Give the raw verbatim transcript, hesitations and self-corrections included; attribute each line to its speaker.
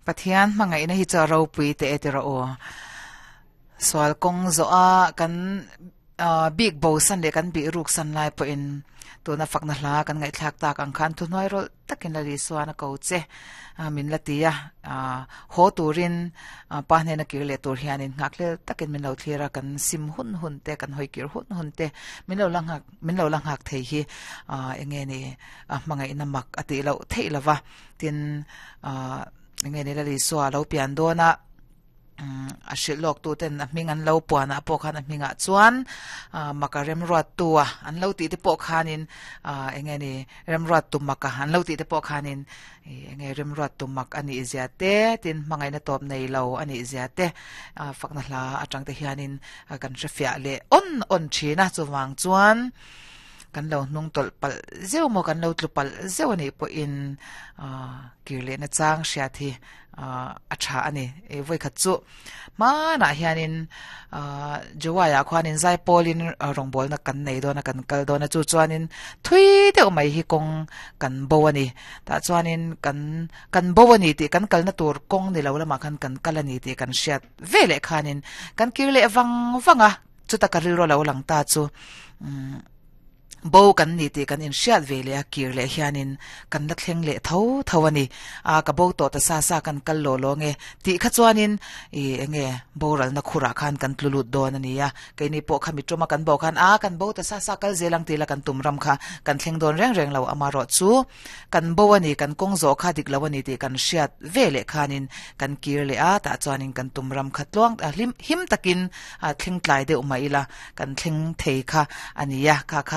Speaker 1: Pathian hmangaihna hi chu a ropui teh e tiraw aw. Sual kawng zawh a kan ah bik bo san leh kan bih ruk san lai pawhin tuna fakna hla kan ngaihthlak tak ang khan thuhnuai rawlh takin la Lisuan a ko che min la ti a, ah haw turin pa hnena kir leh tur hianin nghak hlel takin min lo thlir a, kan sim hun hun te kan hawi kir hun hun te min lo la nghak min lo la nghak thei hi ah enge ni a hmangaihna mak a tih loh theih lova tin ah enge ni la Lisua lo pian dawn a a hrilh lawk tu ten a hming an lo puan ah pawh khan a hmingah chuan ah maka remruat tu a an lo tih te pawh khanin ah enge ni remruat tu maka an lo tih te pawh khanin enge remruat tu mak a nih zia te tin hmangaihna tawp nei lo a nih zia te ah fakna hla atang te hianin kan hre fiah leh awn awn thin a chuvang chuan kan lo hnung tawlh palh zeuh maw kan lo tlu palh zeuh a nih pawhin ah kir lehna chang hriat hi ah a tha a ni e vawikhat chu hmanah hianin ah Jawaiah khuanin zai pawlin rawngbawlna kan nei dawn a kan kal dawn a chu chuanin thui deuh mai hi kawng kan bo a ni tah chuanin kan kan bo a ni tih kan kalna tur kawng ni lo lamah khan kan kal a ni tih kan hriat ve leh khanin kan kir leh vang vang a chuta ka rilru lo lang ta chu umm bo kan ni tih kan inhriat ve leh a kir leh hianin kan la thleng leh tho tho a ni a ka bo tawh ta sa sa kan kal lo lo nge tih kha chuanin ih enge boralna khurah khan kan tlu lut dawn a ni a keini pawh kha mi tawma kan bo khan a kan bo ta sa sa kal zel ang tih la kan tum ram kha kan thleng dawn reng reng lo amarawh chu kan bo a ni kan kawng zawh kha dik lo a ni tih kan hriat ve leh khanin kan kir leh a tah chuanin kan tum ram kha tluang a hlim him takin a thleng tlai deuh mai ila kan thleng thei kha a ni a kha khan